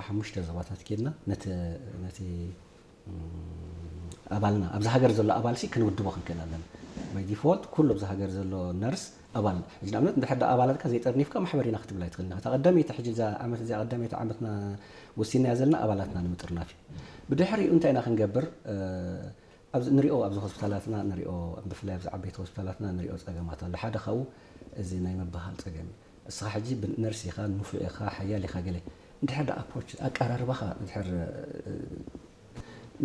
ሓሙሽተ ዞባታት ኬድና ነቲ ነቲ ኣባልና ኣብዚ ሃገር ዘሎ ኣባልሲ ክንውድቦ ክንክእል ኣለና። ባይ ዲፎልት ኩሉ ኣብዚ ሃገር ዘሎ ነርስ ኣባል። ሕጂ ንኣብነት እንድሕር ኣባላትካ ዘይጠርኒፍካ ማሕበር ኢና ክትብል ኣይትኽእልን። እታ ቀዳመይቲ ሕጂ እዛ ዓመት እዚኣ ቀዳመይቲ ዓመትና ወሲናያ ዘለና ኣባላትና ንምጥርናፍ እዩ። ብድሕሪኡ እንታይ ኢና ክንገብር? ኣብዚ ንሪኦ ኣብዚ ሆስፒታላትና ንሪኦ ብፍላይ ኣብዚ ዓበይቲ ሆስፒታላትና ንሪኦ ፀገማት ኣሎ። ሓደ ካብኡ እዚ ናይ ምብሃል ፀገም እዩ። እስኻ ሕጂ ነርስ ኢኻ፣ ንፉዕ ኢኻ፣ ሓያል ኢኻ ገለ እንድሕር ዳ ኣፕሮች ኣቀራርባኻ እንድሕር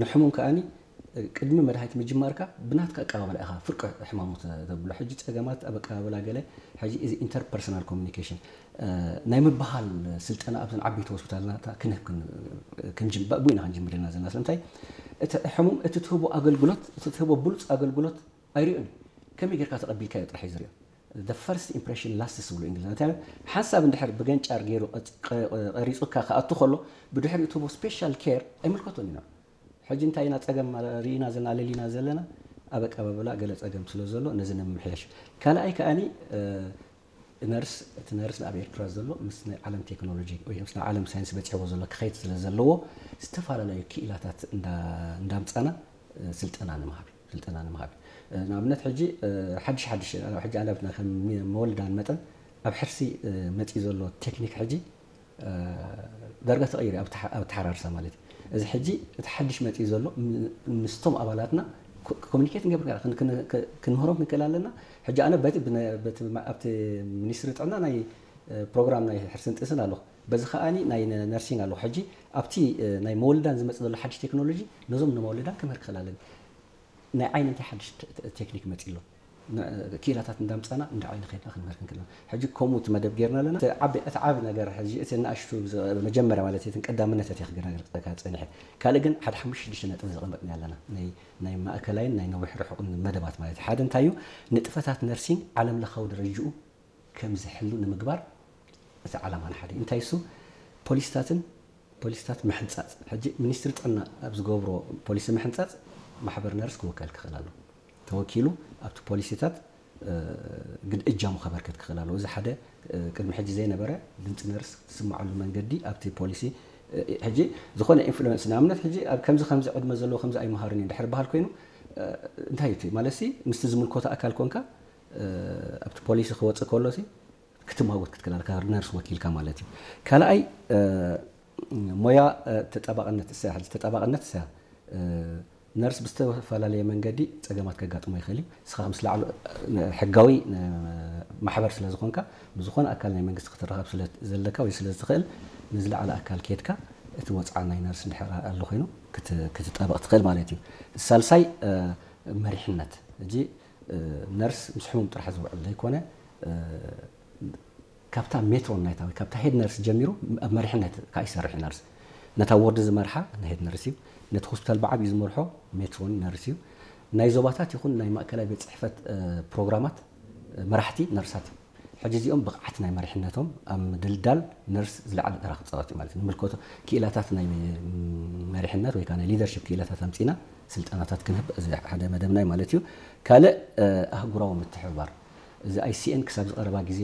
ንሕሙም ከኣኒ ቅድሚ መድሃኒት ምጅማርካ ብናትካ ኣቀባበላ ኢኻ ፍርቂ ሕማሙ ተብሎ። ሕጂ ጸገማት ኣብ ኣቀባበላ ገለ ሕጂ እዚ ኢንተርፐርሰናል ኮሚኒኬሽን ናይ ምብሃል ስልጠና ኣብዘን ዓበይቲ ሆስፒታልናታ ክንህብ ብኡ ኢና ክንጅምር ዘለና ዘለና ስለምንታይ እቲ ሕሙም እቲ ትህቦ ኣገልግሎት እቲ ትህቦ ብሉፅ ኣገልግሎት ኣይሪኦን። ከመይ ጌርካ ተቐቢልካዮ ጥራሕ እዩ ዝሪኦ። The first impression lasts ዝብሉ እንግሊዝ። እንታይ ሓንሳብ እንድሕር ብገንጫር ገይሩ ቀሪፁካ ክኣቱ ከሎ ብድሕሪኡ ትህቦ ስፔሻል ኬር ኣይምልከቶን ኢና። ሕጂ እንታይ ኢና ፀገም ርኢና ዘለና ኣለሊና ዘለና ኣብ ኣቀባብላ ገለ ፀገም ስለ ዘሎ ነዚ ንምምሕያሽ። ካልኣይ ከኣኒ ነርስ እቲ ነርስ ኣብ ኤርትራ ዘሎ ምስ ናይ ዓለም ቴክኖሎጂ ወይ ምስ ናይ ዓለም ሳይንስ በፂሕዎ ዘሎ ክኸይድ ስለ ዘለዎ ዝተፈላለዩ ክኢላታት እንዳምፃና ስልጠና ንምሃብ ስልጠና ንምሃብ ንኣብነት ሕጂ ሓድሽ ሓድሽ ሕጂ ኣላብትና ከም መወልዳን መጠን ኣብ ሕርሲ መፂ ዘሎ ቴክኒክ ሕጂ ዳርጋ ተቐይሩ ኣብ ተሓራርሳ ማለት እዩ። እዚ ሕጂ እቲ ሓድሽ መፂ ዘሎ ምስቶም ኣባላትና ኮሚኒኬት ንገብር ክንምህሮም ክንክእል ኣለና። ሕጂ ኣነ ኣብቲ ሚኒስትሪ ጥዕና ናይ ፕሮግራም ናይ ሕርስን ጥስን ኣለኹ። በዚ ከኣኒ ናይ ነርሲንግ ኣለኹ። ሕጂ ኣብቲ ናይ መወልዳን ዝመፅእ ዘሎ ሓድሽ ቴክኖሎጂ ነዞም ንመወልዳን ክምህር ክኽእል ኣለኒ። ናይ ዓይኒ እንታይ ሓድሽ ቴክኒክ መፂ ኣሎ ክኢላታት እንዳምፃና እንዳ ዓይኒ ከድና ክንምህር ክንክእል ሕጂ ከምኡ እቲ መደብ ጌርና ኣለና። እቲ ዓቢ ነገር ሕጂ እቲ ንኣሽቱ መጀመርያ ማለት እቲ ቀዳምነት እቲ ክገናገርካ ፀኒሐ ካልእ ግን ሓደ ሓሙሽተ ሽዱሽተ ነጥቢ ዘቐመጥና ኣለና ናይ ማእከላይን ናይ ነዊሕ ርሑቕን መደባት ማለት ሓደ እንታይ እዩ ንጥፈታት ነርሲንግ ዓለም ለኻዊ ደረጅኡ ከም ዝሕሉ ንምግባር እቲ ዓላማና ሓደ እዩ። እንታይ እሱ ፖሊስታትን ፖሊስታት ምሕንጻጽ ሕጂ ሚኒስትሪ ጥዕና ኣብ ዝገብሮ ፖሊሲ ምሕንጻጽ ማሕበር ነርስ ክውከል ክኽእል ኣሎ። ተወኪሉ ኣብቲ ፖሊሲታት ግድ እጃሙ ከበርክት ክኽእል ኣለዎ። እዚ ሓደ ቅድሚ ሕጂ ዘይነበረ ድምፂ ነርስ ዝስምዓሉ መንገዲ ኣብቲ ፖሊሲ ሕጂ ዝኾነ ኢንፍሉዌንስ ንኣብነት ሕጂ ኣብ ከምዚ ከምዚ ዕድመ ዘለዎ ከምዚ ኣይመሃርን እዩ ድሕር በሃል ኮይኑ እንታይ እቲ ማለት ሲ ምስቲ ዝምልከቶ ኣካል ኮንካ ኣብቲ ፖሊሲ ክወፅእ ከሎ ሲ ክትማጎት ክትክእል ኣለካ ነርስ ወኪልካ ማለት እዩ። ካልኣይ ሞያ ተጣባቕነት እሳ ሕዚ ተጣባቕነት እሳ ነርስ ብዝተፈላለየ መንገዲ ፀገማት ከጋጥሞ ይኽእል እዩ። ንስኻ ምስ ላዕሉ ሕጋዊ ማሕበር ስለ ዝኾንካ ብዝኾነ ኣካል ናይ መንግስቲ ክትረኸብ ስለ ዘለካ ወይ ስለ ዝትኽእል ንዝለዓለ ኣካል ኬድካ እቲ ወፅዓ ናይ ነርስ እንድሕር ኣሎ ኮይኑ ክትጣበቕ ትኽእል ማለት እዩ። ሳልሳይ መሪሕነት እጂ ነርስ ምስ ሕሙም ጥራሕ ዝውዕል ዘይኮነ ካብታ ሜትሮን ናይታ ወይ ካብታ ሄድ ነርስ ጀሚሩ ኣብ መሪሕነት ከዓ ይሰርሕ ነርስ ነታ ወርድ ዝመርሓ ሄድ ነርስ እዩ። ነቲ ሆስፒታል ብዓብዩ ዝመርሖ ሜትሮን ነርስ እዩ። ናይ ዞባታት ይኹን ናይ ማእከላይ ቤት ፅሕፈት ፕሮግራማት መራሕቲ ነርሳት እዮም። ሕጂ እዚኦም ብቕዓት ናይ መሪሕነቶም ኣብ ምድልዳል ነርስ ዝለዓለ ተራ ክፃወት እዩ ማለት እዩ። ንምልከቶ ክኢላታት ናይ መሪሕነት ወይ ከዓ ናይ ሊደርሽፕ ክኢላታት ኣምፂና ስልጠናታት ክንህብ እዚ ሓደ መደብናይ ማለት እዩ። ካልእ ኣህጉራዊ ምትሕብባር እዚ ኣይሲኤን ክሳብ ዝቐረባ ግዜ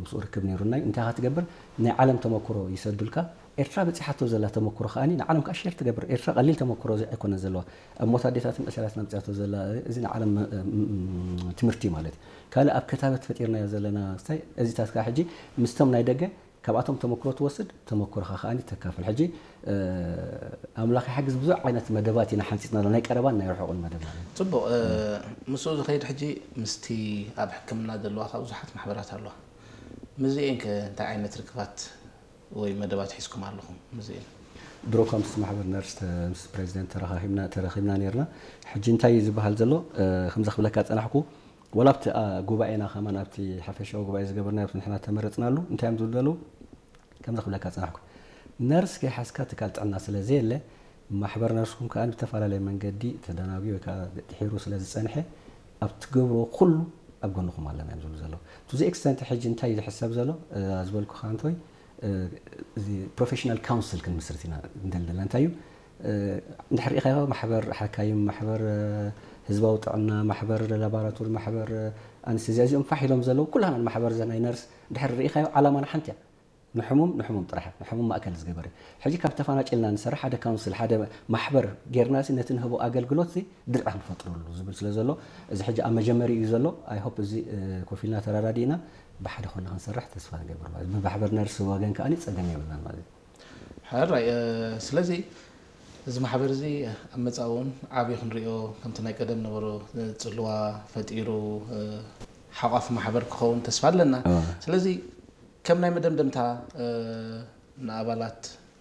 ምስኡ ርክብ ነይሩና እዩ። እንታይ ክትገብር ናይ ዓለም ተመክሮ ይሰዱልካ ኤርትራ በፂሓቶ ዘላ ተመክሮ ከዓኒ ንዓለም ከዓ ሼር ትገብር። ኤርትራ ቀሊል ተመክሮ ኣይኮነ ዘለዋ ኣብ ሞት ኣዴታትን ዕሸላት ናምፅያቶ ዘላ እዚ ንዓለም ትምህርቲ ማለት እዩ። ካልእ ኣብ ከታበት ፈጢርናዮ ዘለና ክስታይ እዚታት ከዓ ሕጂ ምስቶም ናይ ደገ ካብኣቶም ተመክሮ ትወስድ ተመክሮኻ ከዓኒ ተካፍል። ሕጂ ኣምላኽ ይሓግዝ ብዙሕ ዓይነት መደባት ኢና ሓንፂፅና ናይ ቀረባን ናይ ርሑቕን መደብ ማለት እዩ። ፅቡቕ ምስኡ ዝኸይድ ሕጂ ምስቲ ኣብ ሕክምና ዘለዋ ካብ ብዙሓት ማሕበራት ኣለዋ ምስዚኤን ከ እንታይ ዓይነት ርክባት ወይ መደባት ሒዝኩም ኣለኹም ምስዚኤን? ድሮ እኳ ምስ ማሕበር ነርስ ምስ ፕሬዚደንት ተረኻኺብና ተረኺብና ነርና። ሕጂ እንታይ እዩ ዝበሃል ዘሎ ከምዚ ክብለካ ፀናሕኩ ወላ ኣብቲ ጉባኤና ከማን ኣብቲ ሓፈሻዊ ጉባኤ ዝገበርና ኣብቲ ንሕና ተመረፅናሉ እንታይ እዮም ዝብሉ ዘለዉ ከምዚ ክብለካ ፀናሕኩ ነርስ ከይሓዝካ ትካል ጥዕና ስለ ዘየለ ማሕበር ነርስኩም ከዓ ብተፈላለየ መንገዲ ተደናጉ ወይ ከዓ ድሒሩ ስለ ዝፀንሐ ኣብ ትገብርዎ ኩሉ ኣብ ጎንኹም ኣለና እዮም ዝብሉ ዘለዉ። To the extent ሕጂ እንታይ እዩ ዝሕሰብ ዘሎ ዝበልኩኻ እንተወይ እዚ ፕሮፌሽናል ካውንስል ክንምስርት ኢና እንደል ዘለና እንታይ እዩ እንድሕር ሪኢኻዮ ማሕበር ሓካይም ማሕበር ህዝባዊ ጥዕና ማሕበር ላባራቶሪ ማሕበር ኣንስቴዝያ እዚኦም ፋሕ ኢሎም ዘለዉ ኩላና ማሕበር ዘ ናይ ነርስ እንድሕር ሪኢኻዮ ዓላማና ሓንቲ እያ ንሕሙም ንሕሙም ጥራሕ ንሕሙም ማእከል ዝገበረ ሕጂ ካብ ተፈናጭልና ንሰርሕ ሓደ ካውንስል ሓደ ማሕበር ጌርናሲ ነቲ ንህቦ ኣገልግሎት ድርዓ ንፈጥረሉ ዝብል ስለ ዘሎ እዚ ሕጂ ኣብ መጀመሪ እዩ ዘሎ። ኣይ ሆፕ እዚ ኮፊልና ተራዳዲእና ብሓደ ኮና ክንሰርሕ ተስፋ ንገብር ማለት ብማሕበር ነርስ ወገን ከኣ ጸገም የብልናን ማለት እዩ። ሕራይ ስለዚ እዚ ማሕበር እዚ ኣብ መፃእ እውን ዓብዩ ክንሪኦ ከምቲ ናይ ቀደም ነበሮ ፅልዋ ፈጢሩ ሓቋፍ ማሕበር ክኸውን ተስፋ ኣለና። ስለዚ ከም ናይ መደምደምታ ንኣባላት